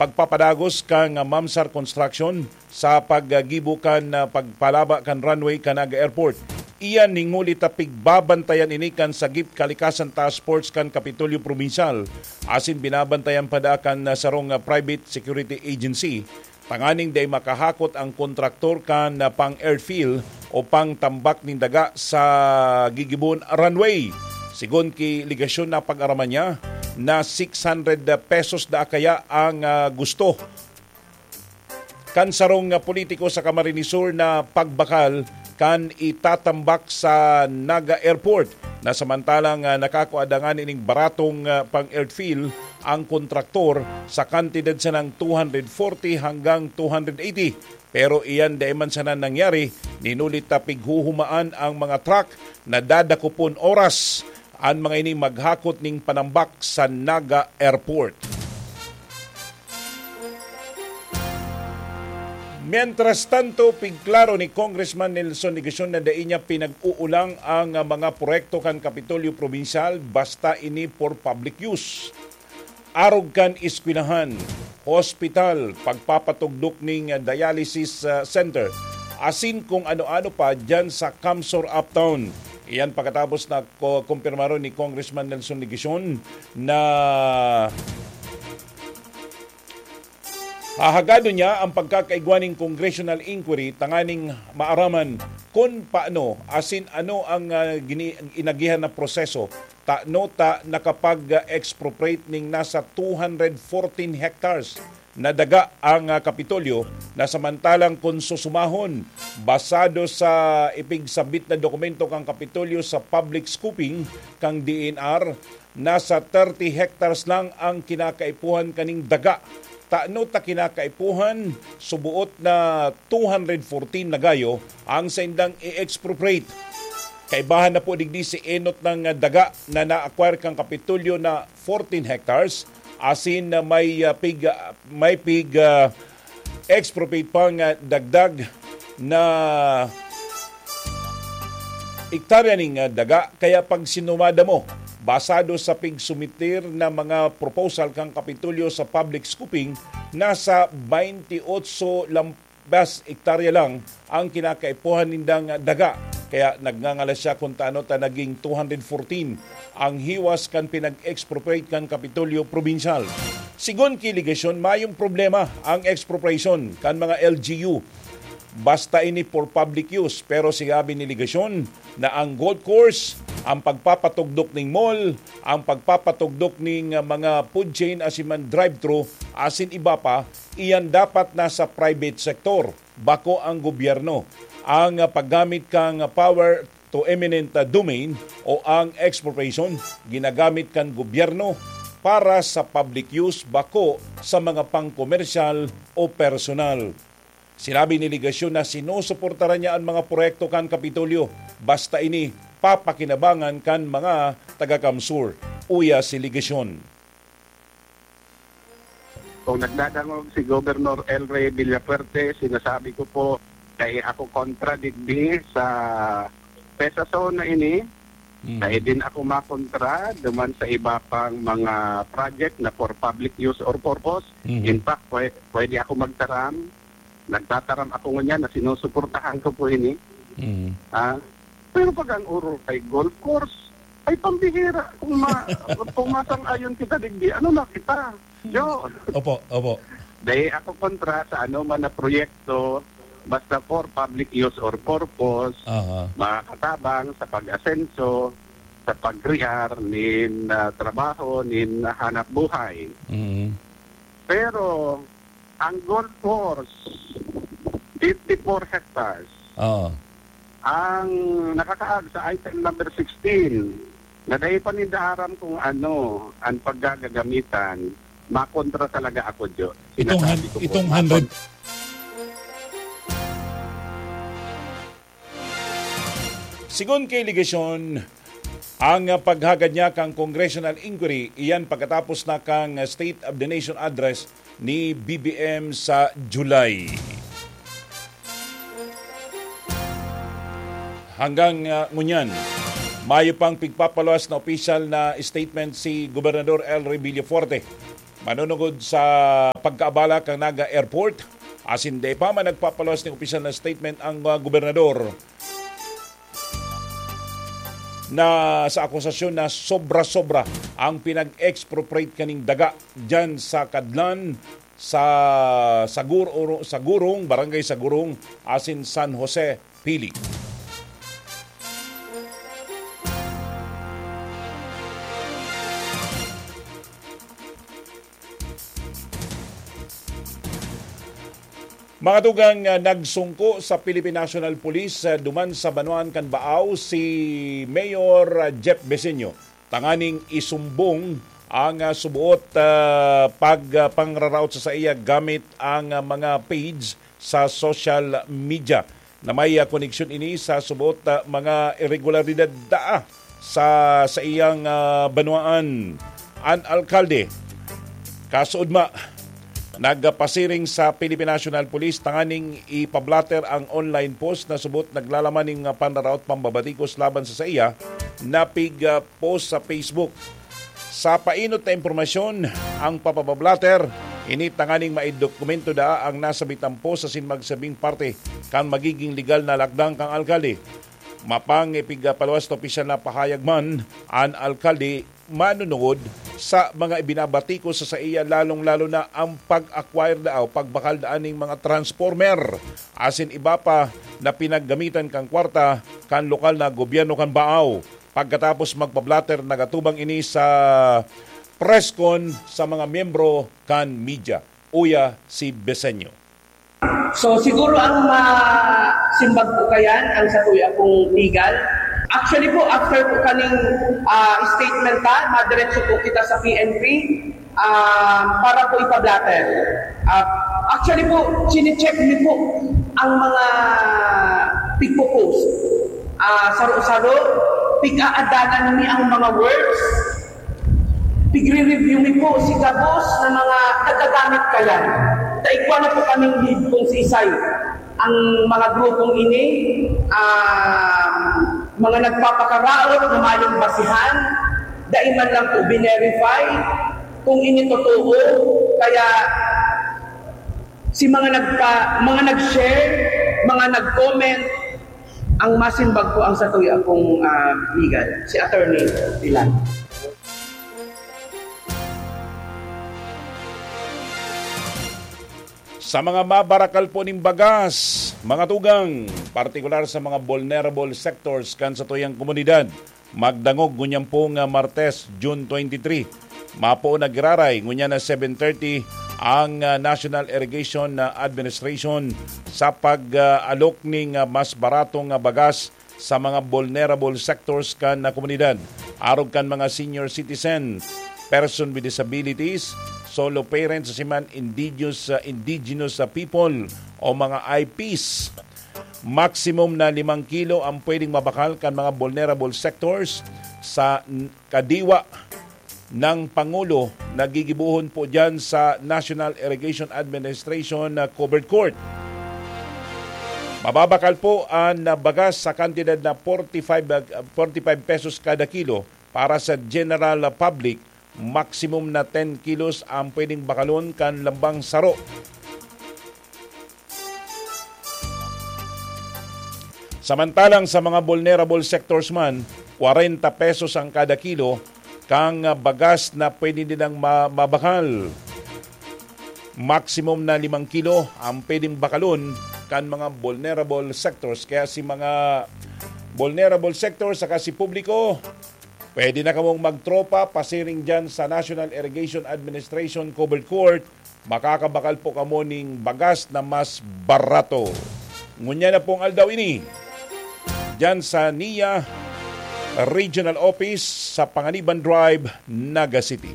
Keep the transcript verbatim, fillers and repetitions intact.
pagpapadagos kan Mamsar Construction sa paggibo kan, ah, pagpalaba kan runway kan Naga Airport. Iyan hinguli ta pigbabantayan ini kan Sagip Kalikasan Task Force kan Kapitolyo Probinsyal, asin binabantayan pa daa kan, ah, sarong, ah, private security agency, tanganing dai makahakot ang kontraktor kan, ah, pang-airfill o pangtambak nin daga sa gigibon runway. Sigon ki Legacion, napag-araman niya na six hundred pesos daa kaya ang, ah, gusto kan sarong, ah, politiko sa Camarines Sur na pagbakal kan itatambak sa Naga Airport, na samantalang, ah, nakakua dangan ining baratong, ah, pang-airfill ang kontraktor sa kantidad sanang two hundred forty hanggang two hundred eighty. Pero iyan dai man sana nangyari, nin huli ta pighuhumaan ang mga truck na dadakopon oras an mga ini maghakot nin panambak sa Naga Airport. Mientras tanto, pigklaro ni Congressman Nelson Legacion na dai niya pinag-uulang ang mga proyekto kan Kapitolyo Probinsyal basta ini for public use. Arog kan eskwelahan, hospital, pagpapatugdok ning dialysis, ah, center, asin kung ano-ano pa diyan sa Kamsor Uptown. Iyan pagkatapos na ko-, kumpirmaron ni Congressman Nelson Legacion na hahagadon niya ang pagkakaigwa ning congressional inquiry tanganing maaraman kun paano asin ano ang, ah, gini-, inagihan na proseso tano ta nakapag-expropriate ning nasa two hundred fourteen hectares na daga ang, ah, Kapitolyo, na samantalang kun susumahon, basado sa ipigsabit na dokumento kan Kapitolyo sa public scoping kan D E N R, nasa thirty hectares lang ang kinakaipuhan kaning daga. Tano ta kinakaipuhan, suboot na two hundred fourteen na gayo ang saindang i-expropriate. Kaibahan na po digdi si enot na daga na na-acquire kan Kapitolyo na fourteen hectares, asin na may, ah, pig, ah, may pig, ah, expropriate pang, ah, dagdag na ektarya ning, ah, daga. Kaya pag sinumada mo, basado sa pigsumitir na mga proposal kan Kapitolyo sa public scoping, nasa twenty-eight lam-, bas hektarya lang ang kinakaipuhan nindang daga. Kaya nagngangalas siya kun tano ta naging two hundred fourteen ang hiwas kan pinag-expropriate kan Kapitolyo Probinsyal. Sigon ki Legacion, mayong problema ang expropriation kan mga L G U. Basta ini for public use, pero sinabi ni Legacion na ang golf course, ang pagpapatugdok ning mall, ang pagpapatugdok ning, ah, mga food chain asin man drive-thru, asin iba pa, iyan dapat nasa private sector, bako ang gobyerno. Ang, ah, paggamit kan power to eminent, ah, domain o ang expropriation, ginagamit kan gobyerno para sa public use, bako sa mga pangkomersyal o personal. Sinabi ni Legacion na sinusuportaran niya an mga proyekto kan Kapitolyo, basta ini papakinabangan kan mga taga-Kamsur. Uya si Legacion. Kung nagdadangog si Governor El Rey Villafuerte, sinasabi ko po, dai ako kontra digdi sa PEZA zone na ini. Mm. Dai din ako makontra duman sa iba pang mga project na for public use or purpose. Mhm. In fact, pwe-, pwede ako magtaram. Nagtataram ako ngunyan na sinusuportahan ko po ini. Mm. Ah, pero pag ang urol kay golf course, ay pambihira. Kung ma-, kung masang-ayon kita digdi, ano na kita? Yo. Opo, opo. Dai ako kontra sa ano man na proyekto, basta for public use or purpose, Aha. makakatabang sa pag-asenso, sa pag-crear nin, ah, trabaho, nin hanap buhay. Mm. Pero, ang golf course, fifty-four hectares. Oo. Ang nakakaag sa item number sixteen, na dai pa ninda aram kung ano ang paggagagamitan, makontra talaga ako, Jo. Itong Sinasabi han-, ko po, itong makon- hundred. Sigon kay Legacion, ang paghagad niya kan congressional inquiry, iyan pagkatapos na kan State of the Nation Address ni B B M sa July. Hanggang, ah, ngunyan, mayo pang pigpapaluwas na opisyal na statement si Gobernador El Rey Villafuerte. manunungod sa pagkaabala kan Naga Airport. Asin dai pa man nagpapaluwas ning opisyal na statement ang, ah, gobernador na sa akusasyon na sobra-sobra ang pinag-expropriate kaning daga diyan sa Kadlan, sa Sagur-, Sagurong, Barangay Sagurong, asin San Jose, Pili. Mga tugang, ah, nagsungko sa Philippine National Police, ah, duman sa banwaan kan Baao si Mayor, ah, Jeff Beseño, tanganing isumbong ang, ah, subuot, ah, pag, ah, pangraraot sa saiya gamit ang, ah, mga page sa social media na may, ah, koneksyon ini sa subuot, ah, mga irregularidad daa sa, sa iyang, ah, banwaan. An alkalde, kasuodma, nagpasiring sa Philippine National Police tanganing ipablatter ang online post na subot naglalaman ning, ah, panraraot pambabatikos laban sa saiya na pig, ah, post sa Facebook. Sa painot na impormasyon, ang papabablatter, ini tanganing maidokumento daa ang nasabitang post asin magsabing parte kan magiging legal na lakdang kan alkalde. Mapang ipigpaluwas na opisyal na pahayag man an alkalde manunungod sa mga ibinabatikos sa saiya, lalong-lalo na ang pag-acquire daa o pagbakal daa ning mga transformer asin iba pa na pinaggamitan kan kwarta kan lokal na gobyerno kan Baao. Pagkatapos magpablatter, nagatubang ini sa press con sa mga miyembro kan media. Uya si Beseño. So, siguro ang masimbag ko kayan, ang satuya pong legal. Actually po, after po kaning, ah, statement ta, madiretso po kita sa P N P, ah, para po ipablatter. Ah, actually po, chine-check mi po ang mga pigpo-post. Ah, saro-saro, pig-aadanan mi ang mga words. Pigre-review mi po si gabos na mga nagagamit kayan. Ta igwa na po kaming lead kung siisay ang mga grupong ini, ah, mga nagpapakaraot na mayong basihan, dai man lang po binerify kung ini totoo. Kaya si mga nagpa-, mga nag-share, mga nag-comment, ang masimbag po ang satuya pong, ah, legal, si Attorney Dilan. Sa mga mabarakal po ning bagas, mga tugang, partikular sa mga vulnerable sectors kan satuyang komunidad, magdangog ngunyan pong, ah, Martes, June twenty-three. Mapo na giraray, ngunyan na seven thirty, ang, ah, National Irrigation, ah, Administration sa pag, ah, alok ning, ah, mas baratong, ah, bagas sa mga vulnerable sectors kan, ah, komunidad. Arog kan mga senior citizen, person with disabilities, solo parents, asin man indigenous, ah, indigenous, ah, people o mga I Ps. Maximum na limang kilo ang pwedeng mabakal kan mga vulnerable sectors sa n-, kadiwa ng Pangulo na gigibohon po diyan sa National Irrigation Administration na covered court. Mababakal po ang bagas sa kantidad na forty-five, ah, forty-five pesos kada kilo. Para sa general public, maximum na ten kilos ang pwedeng bakalon kan lambang saro. Samantalang sa mga vulnerable sectors man, kwarenta pesos ang kada kilo kan bagas na pwede nilang ma-, mabakal. Maximum na limang kilo ang pwedeng bakalon kan mga vulnerable sectors. Kaya si mga vulnerable sectors saka si publiko, pwede na kamong magtropa pasiring dyan sa National Irrigation Administration Covered Court. Makakabakal po kamo ning bagas na mas barato. Ngunyan na pong aldaw ini, dyan sa NIA Regional Office sa Panganiban Drive, Naga City.